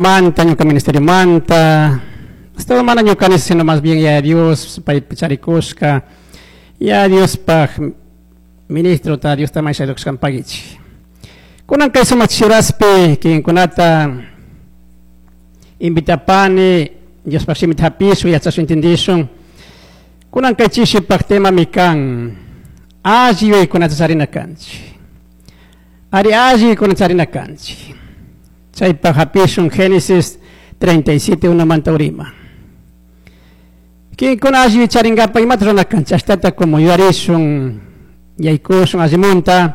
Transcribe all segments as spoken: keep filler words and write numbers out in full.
Manta, ñuka ministerio manta, todo mana ñuka sino más bien ya Dios paypi charikushka, ya Diospaj ministro ta Diosta may pagichik. Kunan kay sumak churaspi kikinkunata invitapani Diospaj shimita hapishun yachashun entendishun. Kunan kay chishipaj temami kan alli yuyaykunata charina kanchik. Ari alli yuyaykunata charina kanchik. Chaypaj hapishun Génesis treinta y siete manta urima. Kikinkuna alli charingapaj imata rurana kanchik ashtata como yuyarishun yaykushun allimunta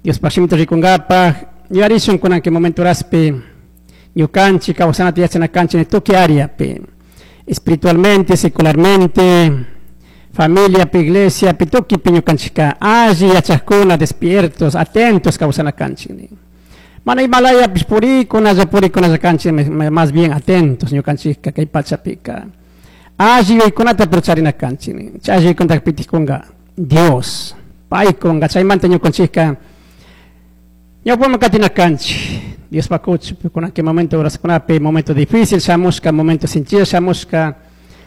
Diospaj shimita rikunkapaj yuyarishun kunan kay momento horaspi ñukanchik kawsanata yachana kanchik tukuy áreapi, espiritualmente, secularmente, familiapi, iglesiapi, tukuypi ñukanchikka alli yachakuna, despiertos, atentos kawsana kanchik. Mana imalayapish purikunalla purikunalla kanchik, más bien atentos ñukanchikka kay pachapika alli yuyaykunata pero charina kanchik. Chay alli yuyaykunata pitik kunga? Dios pay kunga. Chaymanta ñukanchikka ñawpaman katina kanchik Diospaj kuchupi. Kunan kay momento horaskunapi momento difícil shamushka, momento sinchilla shamushka,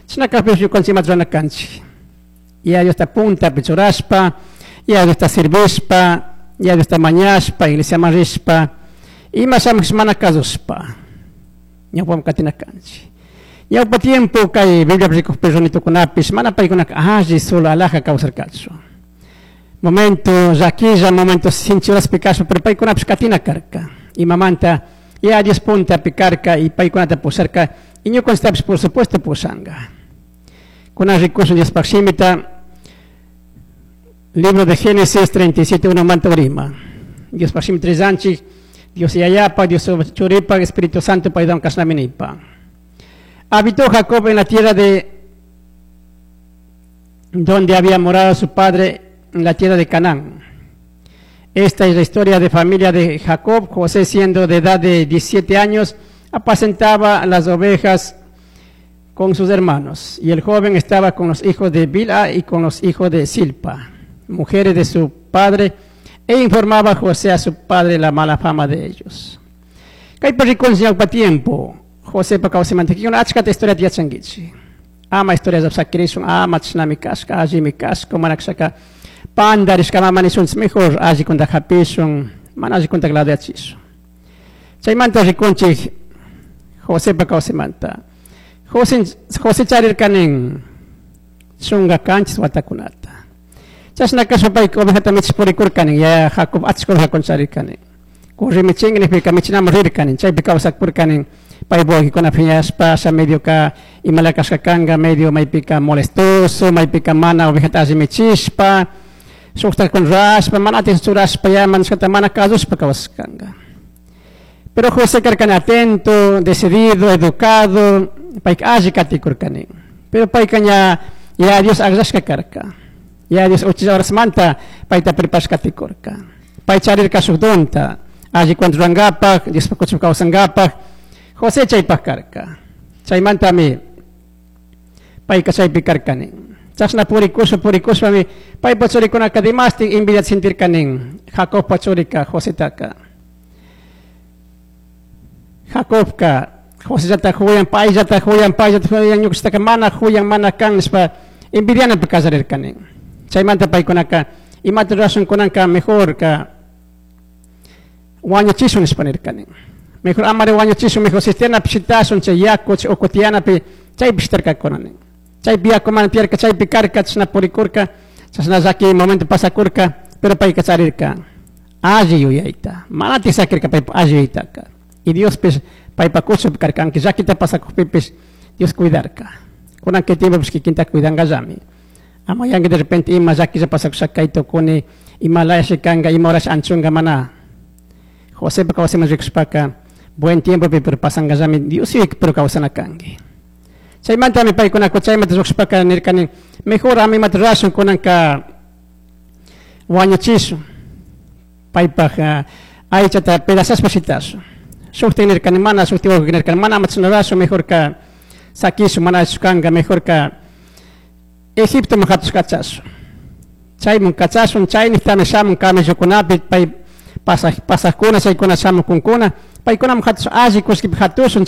chashna kakpipish ñukanchik imata rurana kanchik? Ya Diosta puntapi churashpa, ya Diosta servishpa, ya Diosta mañashpa, iglesiaman rishpa, ima shamush mana kasushpa ñawpaman katina kanchik. Ñawpa tiempo kay Bibliapi rikukpi runitukunapish mana paykunaka alli solo alaja kawsarkachu. Momento llaquilla, momento sinchi horaspi kashpa, pero paykunapish katina karka. Imamanta? Ya Dios puntapi karka y paykunata pusharka y ñukanchiktapish, por supuesto, pushanka. Kunan rikushun Diospaj shimita, libro de Génesis treinta y siete uno manta urima. Diospaj shimita rillanchik. Dios Yayapa, Dios Churipa, Espíritu Santo paywan kashnami nipa. Habitó Jacob en la tierra de donde había morado su padre, en la tierra de Canaán. Esta es la historia de familia de Jacob. José, siendo de edad de diecisiete años, apacentaba las ovejas con sus hermanos. Y el joven estaba con los hijos de Bilha y con los hijos de Zilpa, mujeres de su padre, e informaba a José a su padre la mala fama de ellos. Kaypi rikunchik tiempo Josepa kawsaymanta achkata historiata yachankichik. Ama historia sakirishun, ama chashnami kashka, allimi kashka, mana kashaka pandarishka ama nishunchik, mejor allikunta hapishun, mana allikunta ladoyachishun. Chaymanta rikunchik Josepa kawsaymanta. José, José charirka nin chunka kanchis watakunata. Chashna kashpa payka ovejata michish purikurka nin, yaya Jacob achka ovejakuna charirka nin. Curri michinki nijpika michinaman rirka nin, chaypi kawsakurka nin, paypuk wawkikuna phiñashpa, asha medio ka imala kashka kanka, medio maypika molestoso, maypika mana ovejata alli michishpa, shuktakuna rurashpa, mana atención churashpa, ya manashkata mana kasushpa kawsashkanka. Pero José karka atento, decidido, educado, payka alli katikurka nin. Pero payka ña ya Dios akllashka karka. Ya Dios uchilla horasmanta payta preparashka katikurka. Pay charirka shuk donta, alli rurankapak, Diospaj kuchupi kawsankapak, José chaypaj karka. Chaymantami payka chaypi karka nin. Chashna purikushpa purikushpami paypa churikunaka dimashtik envidia sentirka nin. Jacobpa churika Josetaka. Jacobka Josellata huyan, payllata huyan, payllata huyan, ñukanchiktaka mana huyan, mana kan nishpa envidianapi kallarirka nin. Chaymanta paykunaka imata rurashun kunanka, mejor ka wañuchishun nishpa nirka nin. Mejor amari wañuchishun, mejor cisternapi shitashun, chay yaku chay uku tiyanapi chaypi shitarkakuna nin. Chaypi yaku mana tiyarka, chaypi karka, chashna purikurka, chashna llaki momento pasakurka, pero payka charirka alli yuyayta. Mana sakirka paypa alli yuyaytaka. Y Diospish paypa kuchupi karka, aunque llakita pasakukpipish Dios cuidarka. Kunan kay tiempopish kikinta cuidankallami. Ama yanki de repente ima llakilla pasakusha kay tukuni, ima layashi kanka, ima horash anchunga mana. Josepa kawsayman rikushpaka buen tiempopi pero pasankallami, Dios pero kawsana kanki. Chaymantami paykunaka chaymanta lluqshpaka nirkani, mejor ama imata rurashun kunanka, wañuchishun. Paypaj aychata pedazashpa shitashun. Shukti nirkani mana, shukti wawqi nirkani mana, ama chashna rurashun, mejor ka sakishun, mana allichu kanka, mejor ka Egiptoman hatush kachashun. Chayman kachashun, chayniktami shamun camellokunapi pay pasaj pasajkuna, chaykuna shamukunkuna, Paykunaman hatush alli kullkipi hatushun.